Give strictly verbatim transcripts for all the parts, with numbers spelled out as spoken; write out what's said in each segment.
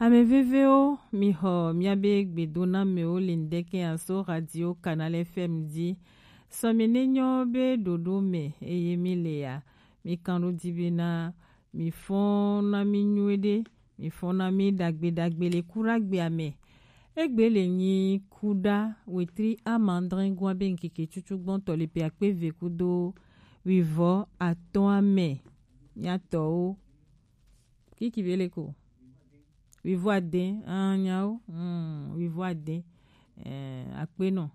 Ame vevewo, mi xɔ miabe gbedonamɛwo le ŋdɛkɛ aso Radio Canal F M dzi. Sɔmɛ ne nyɔ be ɖoɖo mɛ eye mi le ya, mi kan ɖo dzi be na mi fɔn na mi nyuie ɖe, mi fɔn na mi ɖagbe ɖagbe le kuɖagbea mɛ. Egbe le nyi kuɖa wetri amandrɛngua be ŋkeke cucu gbɔntɔ le pe akpe ve kudo wivɔ atɔ̃a mɛ. Miatɔwo. Kiki be le ko. Wivɔ ade, ah, nyawo, hmm, wivɔ ade, eh, akpe nɔ.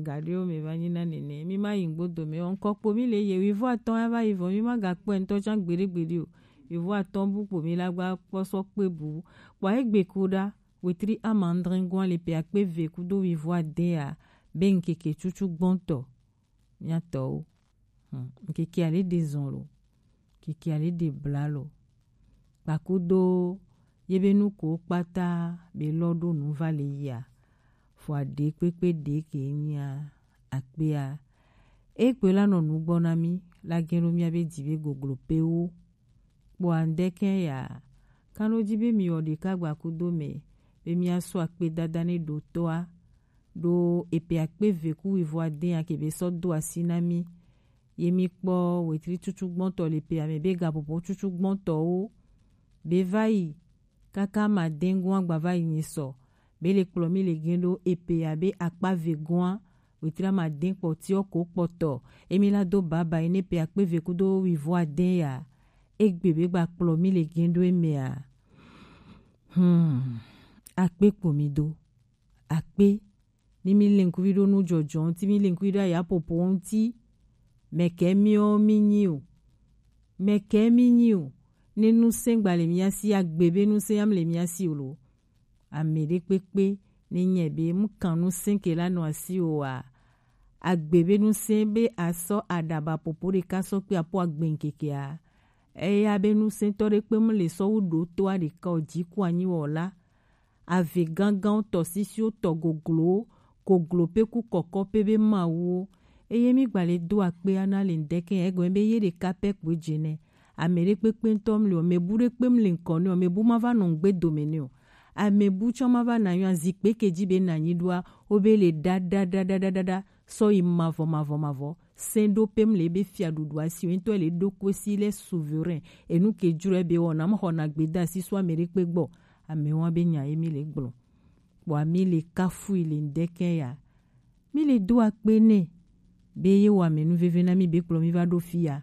Gaɖewo me va nyi na nene. Mi ma yi ŋgbodo me o. Ŋkɔ kpo mi le ye wivɔ atɔ̃ ya va yi vɔ. Mi ma ga kpɔe ŋutɔ tsã gbeɖe gbeɖe o. Wivɔ atɔ̃ bu kpo mi la gba kpɔ sɔ kpe bu. Kpɔ egbe kuɖa wetri amandrɛngua le pe akpe ve kudo wivɔ ade ya be ŋkeke cucu gbɔntɔ. Miatɔwo. Hmm. Ŋkeke ale de zɔn lo. Ŋkeke ale de bla lo. Kpakudo ye be nuko kpata be lɔ ɖo nu va le yia. Fo aɖe kpekpe ɖe ke nyia akpea. E kpe la nɔ nu gbɔ na mi la gɛn ɖo mia be dzi be goglo pewo. Kpɔa ŋdɛkɛ ya, kan ɖo dzi be mi wɔ ɖeka gba kudo mɛ be mia sɔ akpe dada ne ɖo tɔa ɖo epe akpe ve ku wivɔ ade ya ke be sɔ do asi na mi. Ye mi kpɔ wetri cucu gbɔntɔ le pe ame be gapopo cucu gbɔntɔwo be va yi kaka ma dengoa gba va yi nyi sɔ be le kplɔ mi le gɛn ɖo epe abe akpa ve goa wetri ma den kpɔtiɔ ko kpɔtɔ emi la do baba yi ne pe akpe ve kudo wivɔ ade ya. Egbe be gba kplɔ mi le gɛn ɖo emea. Hmm. Akpe kpo mi do. Akpe. Ni mi le ŋkuvi ɖo nu jɔjɔ ŋuti, mi le ŋkuvi ɖo aya popo ŋuti. Mɛkɛ miɔ mi nyi o. Mɛkɛ mi nyi o. Ne nusɛn gba le mia si, agbe be nusɛn yam le mia si o lo. Ame ɖe kpekpe ne nyɛ be mu kan nusɛn ke la nɔ asi o wa. Agbe be nusɛn be asɔ aɖaba popo ɖeka sɔ kpe apo agbe ŋkekea. Eya be nusɛntɔ ɖe kpe mu le sɔ wu ɖo to aɖeka o ji ku anyi wɔ la. Ave ganganwo tɔ sisiwo tɔ goglowo, goglo pe ku kɔkɔ pe be mawuwo. Eye mi gba le do akpe ana le ŋdɛkɛ egɔme be ye ɖeka pɛ kpoe dze nɛ. Ame ɖe kpekpe ŋutɔ mli o, mɛ bu ɖe kpe mli ŋkɔ nɛ o, mɛ bu ma va nɔ ŋgbe dome nɛ o. Ame bu tsɔ ma va na nyɔ azikpe ke dzi be na nyi ɖoa, wo be le ɖa ɖa ɖa ɖa ɖa ɖa sɔ yi mavɔ mavɔ mavɔ. Sɛn ɖo pe mli be fia ɖuɖu asi o, ŋutɔ le ɖo koe si le souverain. Enu ke dzro be wɔna mɔ xɔna gbe da asi so ame ɖe kpe gbɔ. Ame wa be nya ye mi le gblɔ. Kpɔa mi le kafui le ŋdɛkɛ ya. Mi le do akpe nɛ. Be ye wɔ ame nu veve na mi be kplɔ mi va ɖo fi ya.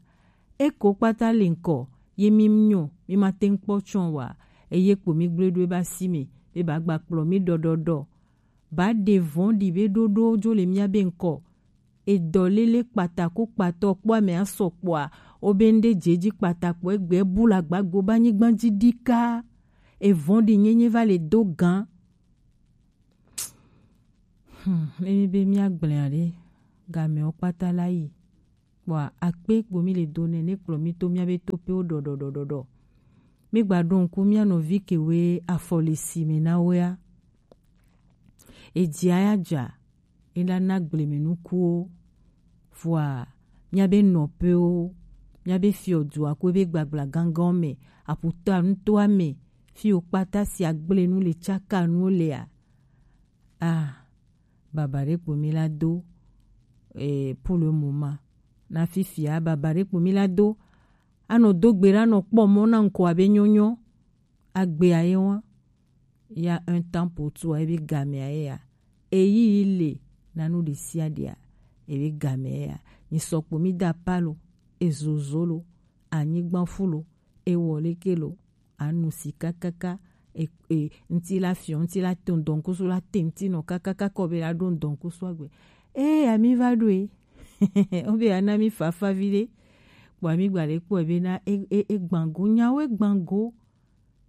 Eko kpata le ŋkɔ, ye mi nyɔ, mi ma te ŋkpɔ tsɔ wa. Eye kpo mi gblɔ ɖo eba si me, be ba gba kplɔ mi ɖɔɖɔɖɔ. Ba ɖe vɔn ɖi be ɖoɖo dzo le mia be ŋkɔ. Edɔ lele kpata ko kpatɔ kpɔ ame asɔ kpɔa, o be ŋɖe dze dzi kpata kpɔ egbe bu la gbagbo ba nyigba dzi ɖi ka. Evɔn ɖi nyenye va le do gan. Hmm, emi be mia gblẽ aɖe, gamewo kpata la yi. Kpɔa akpe kpo mi le do nɛ ne kplɔ mi to mia be to pe wo ɖɔɖɔɖɔɖɔɖɔ. Mi gba ɖo ŋku mia nɔvi ke we afɔ le si me na wea. Edzia ya dza, e la na gbleme nukuwo. Vɔa, mia be nɔpewo, mia be fiɔ dua ko be gbagbla gangan me, aputa nutoa me, fi wo kpata si agble nu le tsaka nuwo lea. Ah, baba ɖe kpo mi la do, eh, pour le moment. Na fifia, baba ɖe kpo mi la do. Anɔ do gbe ɖa nɔ kpɔ mɔ na ŋkɔ abe nyɔnyɔ. Agbe aye wa. Il y a un temps pour tout, ebe game aye ya. Eyi le na nu ɖe sia ɖea, ebe game ya. Ni sɔkpo mi da palo, ezozo lo, anyigba fu lo, ewɔ leke lo, anu si kakaka, e, e, ŋti la fiɔ, ŋti la to ŋdɔnkusu la te ŋti nɔ kakaka kɔ be la ɖo ŋdɔnkusu agbe. E, ami va ɖo e. O be ana mi fafa vi ɖe. Kpɔ ami gba le kpɔ be na e, e, e gbango, nyawo e gbango.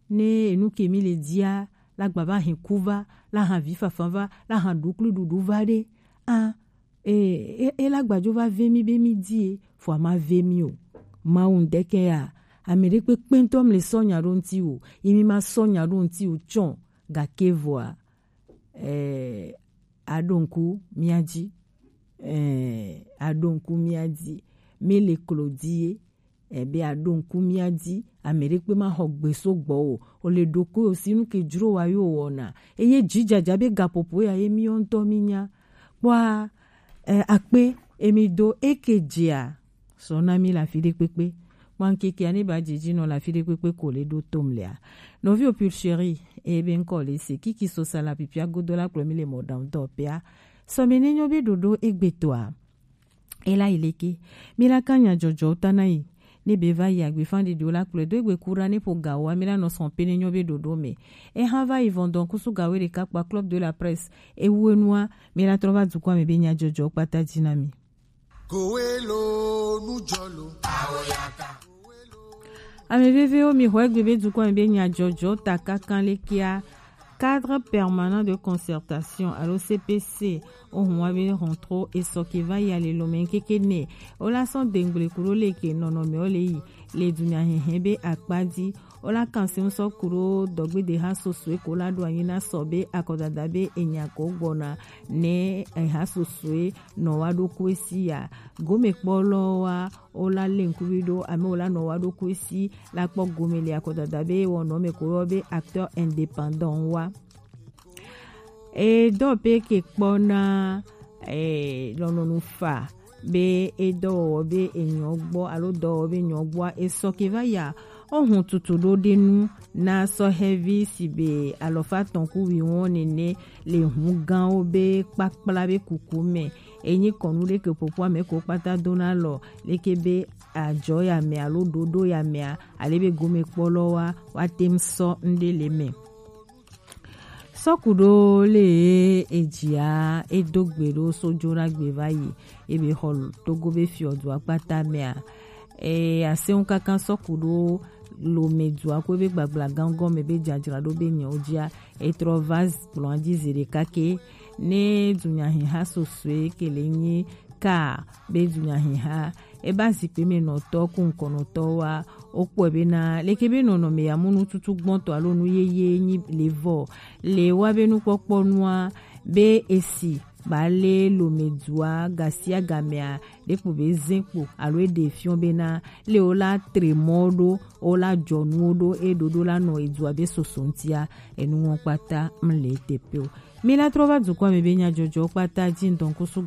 Ne enu ke mi le dia, la gba va hɛn ku va, la hɛn vi fafa va, la hɛn ɖuklu ɖuɖu va ɖe. A, e, e, e la gba dzo va ve mi be mi di e, fo a ma ve mi o. Mawu ŋdɛkɛ ya, ame ɖe kpekpe ŋtɔ mi le sɔ nya ɖo ŋti o, yi mi ma sɔ nya ɖo ŋti o tsɔ, gake vɔa, eh, aɖo ŋku mia dzi, eh, aɖo ŋku mia dzi, mi le klo di ye, Ebe a ɖo ŋku mía dzi, ame ɖekpe ma xɔ gbe so gbɔ o. O le ɖo ko o si nu ke dzro wa yo wɔna. Eye dzidzadza be gaƒoƒo ya ye mí ŋutɔ mí nya. Kpɔa, eh, akpe emi do eke dzea. Sɔ na mí le afi ɖe kpekpe. Kpɔa ŋkekea ne ba dzedzi nɔ le afi ɖe kpekpe ko le ɖo tom lea. Nɔvi o pure chérie, ebe ŋkɔ le se kiki so sala pipia godo la kplɔ mí le mɔ ɖaŋ dɔ pea. Sɔ me ne nyɔ be ɖoɖo egbetɔa. Ela ileke. Mila kanya jojo tanai. Ne be va yi agbe fan ɖiɖi o la kplɔe do egbe kura ne ƒo gawoa, mila nɔ sɔn pe ne nyɔ be ɖoɖo me. Eha va yi vɔndɔn kusu gawo ɖeka kpa club de la presse. Ewu enua, mila trɔ va dukɔa me be nya jojo kpata dzi na mi. Kowelo nujɔlo. Ame vevewo, mi xɔ egbe be dukɔa me be nya jojo ta kankan lekea. Cadre permanent de concertation alo C P C, ohun wa be hɔntro esɔ ke va yi ale lome keke ne. O la sɔn dengble kuɖo le ke nɔnɔme o le yi le dunya hɛhɛ be akpa dzi. O la kan se ŋusɔ kuɖo dɔgbede ha sosoe ko la ɖo anyi na sɔ be akɔdada be enya ko gbɔna ne eha sosoe nɔ wa ɖo ko esi ya. Gome kpɔ lɔ wa o la le ŋkuvi ɖo ame o la nɔ wa ɖo ko esi la kpɔ gome le akɔdada be wɔnɔ me ko yɔ be acteur indépendant wa. Edɔ pe ke kpɔ na, eh, lɔnɔnu fa be edɔwɔwɔ be enyɔ gbɔ alo dɔwɔwɔ be nyɔ gbɔa esɔ ke va ya. Ohun tutu ɖo ɖe nu na sɔhɛvi si be alɔfa tɔn ku wiwɔn nene le hun ganwo be kpakpla be kuku me. Enyi kɔnu ɖe ke ƒoƒo ame ko kpata do na lɔ leke be ajɔ ya me alo ɖoɖo ya mea ale be gome kpɔ lɔ wa wa tem sɔ ŋɖe le me. Sɔkuɖo le edzia edo gbe ɖo so dzo na gbe va yi ebe xɔ Togo be fiɔdua kpata mea. E aseŋu kaka sɔkuɖo lome dua ko ebe gbagblagã gɔme be dzadzraɖo be nyawo dzia etrɔ va kplɔa dzi zi ɖeka ke ne dunyahiha sosoe ke le nyi ka be dunyahiha eba zikpe me nɔtɔ ku ŋkɔnɔtɔ wa. Wokpɔe bena leke be nɔnɔme ya mu nututu gbɔtɔ alo nu yeye nyi le vɔ le wa be nukpɔkpɔ nua be esi ba le lome dua gasia gamea ɖekpo be zẽ kpo alo eɖe fiɔ bena le wo la tre mɔ ɖo wo la dzɔ nuwo ɖo eɖoɖo la nɔ edua be soso ŋtia enu ŋɔ kpata mle teƒe o. Mi la trɔ va dukɔa me be nyadzɔdzɔ kpata dzi ŋdɔnkusu